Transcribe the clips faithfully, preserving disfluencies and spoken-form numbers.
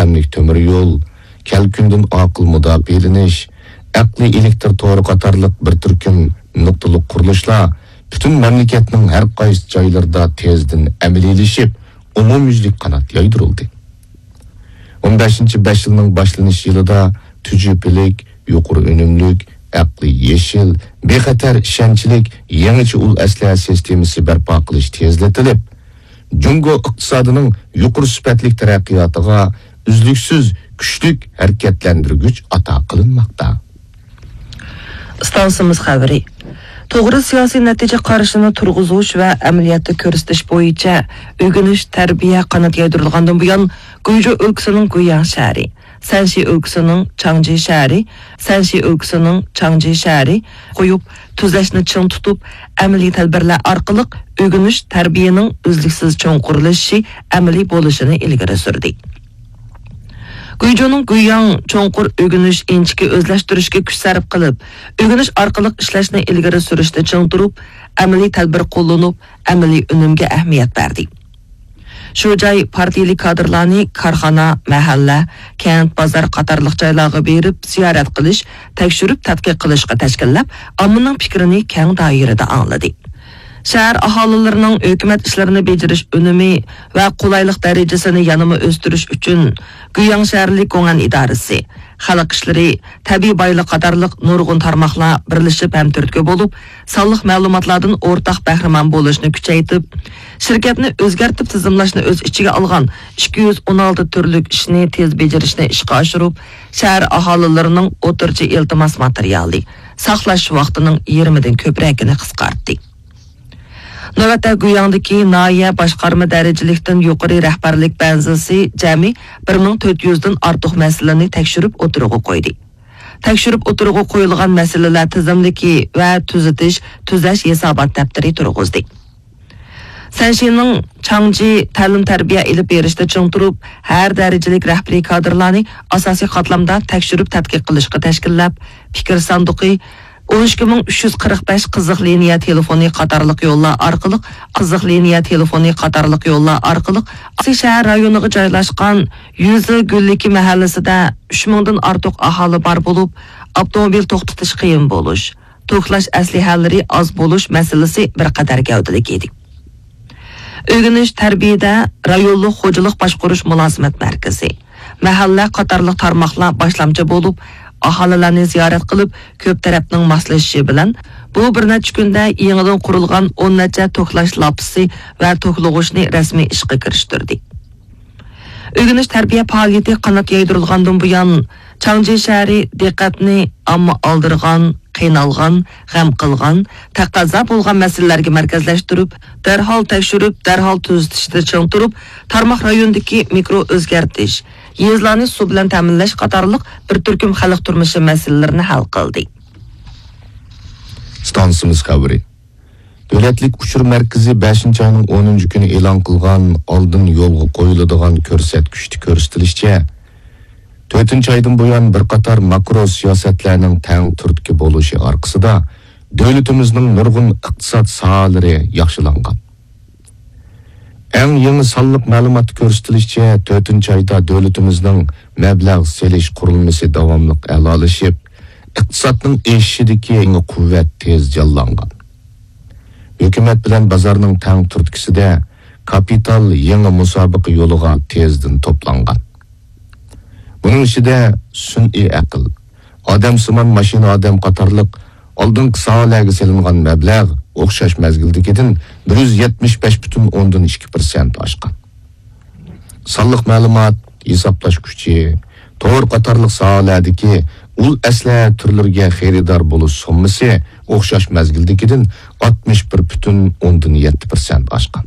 ئەملىك تۆمۈر يول، كەلكۈندىن ئاقىل مۇداپىئەلىنىش، ئەقلىي ئېلېكتر تورى قاتارلىق بىر تۈركۈم نۇقتىلىق قۇرۇلۇشلار پۈتۈن مەملىكەتنىڭ ھەر قايسى جايلىرىدا تېزدىن ئەمەلىيلىشىپ، ئومۇميۈزلۈك قانات يايدۇرۇلدى. ئون بەشىنچى بەش يىلنىڭ باشلىنىش يىلىدا تۈجۈپىلىك، يۇقىرى ئۈنۈملۈك، ئەقلىي يېشىل، بىخەتەر، ئىشەنچلىك، يېڭىچە ئۇل ئەسلىھە سىستېمىسى بەرپا قىلىش تېزلىتىلىپ، جۇڭگو ئىقتىسادىنىڭ يۇقىرى سۈپەتلىك تەرەققىياتىغا ئۈزلۈكسىز كۈچلۈك ھەرىكەتلەندۈرگۈچ ئاتا قىلىنماقتا. ئىستانسىمىز خەۋىرى. توغرا سىياسىي نەتىجە قارىشىنى تۇرغۇزۇش ۋە ئەمەلىيەتتە كۆرسىتىش بويىچە ئۆگىنىش، تەربىيە قانات يايدۇرۇلغاندىن بۇيان، گۇيجۇ ئۆلكىسىنىڭ گۇيياڭ شەھىرى، سەنشى ئۆلكىسىنىڭ چاڭجى شەھىرى، سەنشى ئۆلكىسىنىڭ چاڭجى شەھىرى قويۇپ، تۈزەشنى چىڭ تۇتۇپ، ئەمەلىي تەدبىرلەر ئارقىلىق ئۆگىنىش، تەربىيەنىڭ ئۈزلۈكسىز چوڭقۇرلىشىشى، ئەمەلىي بولۇشىنى ئىلگىرى سۈردى. گۇيجۇنىڭ گۇيياڭ چوڭقۇر ئۆگىنىش ئىنچىكە ئۆزلەشتۈرۈشكە كۈچ سەرپ قىلىپ، ئۆگىنىش ئارقىلىق ئىشلەشنى ئىلگىرى سۈرۈشتە چىڭ تۇرۇپ، ئەمەلىي تەدبىر قوللىنىپ، ئەمەلىي ئۈنۈمگە ئەھمىيەت بەردى. شۇ جاي پارتىيىلىك كادىرلارنى كارخانا، مەھەللە، كەنت، بازار قاتارلىق جايلارغا بېرىپ زىيارەت قىلىش، تەكشۈرۈپ تەتقىق قىلىشقا تەشكىللەپ، ئاممىنىڭ پىكرىنى كەڭ دائىرىدە ئاڭلىدى. شەھەر ئاھالىلىرىنىڭ ھۆكۈمەت ئىشلىرىنى بېجىرىش ئۈنۈمى ۋە قولايلىق دەرىجىسىنى يەنىمۇ ئۆستۈرۈش ئۈچۈن، گۇيياڭ شەھەرلىك گوڭئەن ئىدارىسى، خەلق ئىشلىرى، تەبىئىي بايلىق قاتارلىق نۇرغۇن تارماقلار بىرلىشىپ ھەم تۈرتكە بولۇپ، سانلىق مەلۇماتلاردىن ئورتاق بەھرىمەن بولۇشنى كۈچەيتىپ، شىركەتنى ئۆزگەرتىپ تىزىملاشنى ئۆز ئىچىگە ئالغان ئىككى يۈز ئون ئالتە تۈرلۈك ئىشنى تېز بېجىرىشنى ئىشقا ئاشۇرۇپ، شەھەر ئاھالىلىرىنىڭ ئوتتۇرىچە ئىلتىماس ماتېرىيالى، ساقلاش ۋاقتىنىڭ يېرىمىدىن كۆپرەكىنى قىسقارتتى. نۆۋەتتە گۇيياڭدىكى ناھىيە باشقارما دەرىجىلىكتىن يۇقىرى رەھبەرلىك بەنزىسى جەمئىي بىر مىڭ تۆت يۈزدىن ئارتۇق مەسىلىنى تەكشۈرۈپ ئوتتۇرىغا قويدى. تەكشۈرۈپ ئوتتۇرىغا قويۇلغان مەسىلىلەر تىزىملىكى ۋە تۈزىتىش، تۈزەش ھېسابات دەپتىرى تۇرغۇزدى. سەنشىنىڭ چاڭجى تەلىم-تەربىيە ئېلىپ بېرىشتا چىڭ تۇرۇپ، ھەر دەرىجىلىك رەھبىرىي كادىرلارنى ئاساسىي قاتلامدا تەكشۈرۈپ تەتقىق قىلىشقا تەشكىللەپ، پىكىر ساندۇقى، ئون ئىككى مىڭ ئۈچ يۈز قىرىق بەش قىزىق لىنىيە تېلېفونى قاتارلىق يوللار ئارقىلىق، قىزىق لىنىيە تېلېفونى قاتارلىق يوللار ئارقىلىق ئاساسىي شەھەر رايونىغا جايلاشقان يۈزى گۈللۈكى مەھەللىسىدە ئۈچ مىڭدىن ئارتۇق ئاھالە بار بولۇپ، ئاپتوموبىل توختىتىش قىيىن بولۇش، توكلاش ئەسلىھەلىرى ئاز بولۇش مەسىلىسى بىر قەدەر گەۋدىلىك ئىدى. ئۆگىنىش تەربىيەدە رايونلۇق خوجىلىق باشقۇرۇش مۇلازىمەت مەركىزى، مەھەللە قاتارلىق تارماقلار باشلامچى بولۇپ، ئاھالىلەرنى زىيارەت قىلىپ، كۆپ تەرەپنىڭ ماسلىشىشى بىلەن، بۇ بىر نەچچە كۈندە يېڭىدىن قۇرۇلغان ئون نەچچە توكلاش لاپىسى ۋە توكلىغۇچنى رەسمىي ئىشقا كىرىشتۈردى. ئۆگىنىش تەربىيە پائالىيىتى قانات يايدۇرۇلغاندىن بۇيان، چاڭجى شەھىرى دىققەتنى ئامما ئالدىرىغان، قىينالغان، غەم قىلغان، تەقەززا بولغان مەسىلىلەرگە مەركەزلەشتۈرۈپ، دەرھال تەكشۈرۈپ، دەرھال تۈزىتىشتە چىڭ تۇرۇپ، تارماق رايونىدىكى مىكرو ئۆزگەرتىش، يېزىلارنى سۇ بىلەن تەمىنلەش قاتارلىق بىر تۈركۈم خەلق تۇرمۇشى مەسىلىلىرىنى ھەل قىلدى. ئىستانسىمىز خەۋىرى. دۆلەتلىك ئۇچۇر مەركىزى بەشىنچى ئاينىڭ ئونىنچى كۈنى ئېلان قىلغان ئالدىن يولغا قويۇلىدىغان كۆرسەتكۈچتە كۆرسىتىلىشىچە، تۆتىنچى ئايدىن بۇيان بىر قاتار ماكرو سىياسەتلەرنىڭ تەڭ تۈرتكە بولۇشى ئارقىسىدا، دۆلىتىمىزنىڭ نۇرغۇن ئىقتىساد ساھەلىرى ياخشىلانغان. ئەڭ يېڭى سانلىق مەلۇماتتا كۆرسىتىلىشىچە، تۆتىنچى ئايدا دۆلىتىمىزنىڭ مەبلەغ سېلىش قۇرۇلمىسى داۋاملىق ئەلالىشىپ، ئىقتىسادنىڭ ئېشىشىدىكى يېڭى قۇۋۋەت تېز جانلانغان. ھۆكۈمەت بىلەن بازارنىڭ تەڭ تۈرتكىسىدە كاپىتال يېڭى مۇسابىقە يولىغا تېزدىن توپلانغان. بۇنىڭ ئىچىدە سۈنئىي ئەقىل، ئادەمسىمان ماشىنا ئادەم قاتارلىق ئالدىنقى ساھەلەرگە سېلىنغان مەبلەغ ئوخشاش مەزگىلدىكىدىن بىر يۈز يەتمىش بەش پۈتۈن ئوندىن ئىككى پىرسەنت ئاشقان. سانلىق مەلۇمات، ھېسابلاش كۈچى، تور قاتارلىق ساھەلەردىكى ئۇل ئەسلىھە تۈرلىرىگە خېرىدار بولۇش سوممىسى ئوخشاش مەزگىلدىكىدىن ئاتمىش بىر پۈتۈن ئوندىن يەتتە پىرسەنت ئاشقان.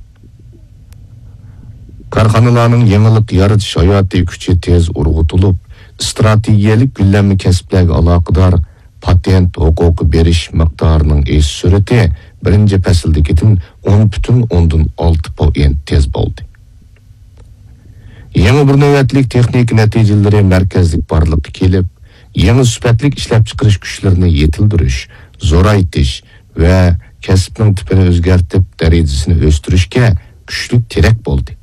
كارخانىلارنىڭ يېڭىلىق يارىتىش ھاياتىي كۈچى تېز ئۇرغۇتۇلۇپ، ئىستراتېگىيەلىك گۈللەنمە كەسىپلەرگە ئالاقىدار پاتېنت ھوقۇقى بېرىش مىقدارىنىڭ ئېشىش سۈرئىتى بىرىنچى پەسىلدىكىدىن ئون پۈتۈن ئوندىن ئالتە پوئىنت تېز بولدى. يېڭى بىر نۆۋەتلىك تېخنىكا نەتىجىلىرى مەركەزلىك بارلىققا كېلىپ، يېڭى سۈپەتلىك ئىشلەپچىقىرىش كۈچلىرىنى يېتىلدۈرۈش، زورايتىش ۋە كەسىپنىڭ تىپىنى ئۆزگەرتىپ، دەرىجىسىنى ئۆستۈرۈشكە كۈچلۈك تىرەك بولدى.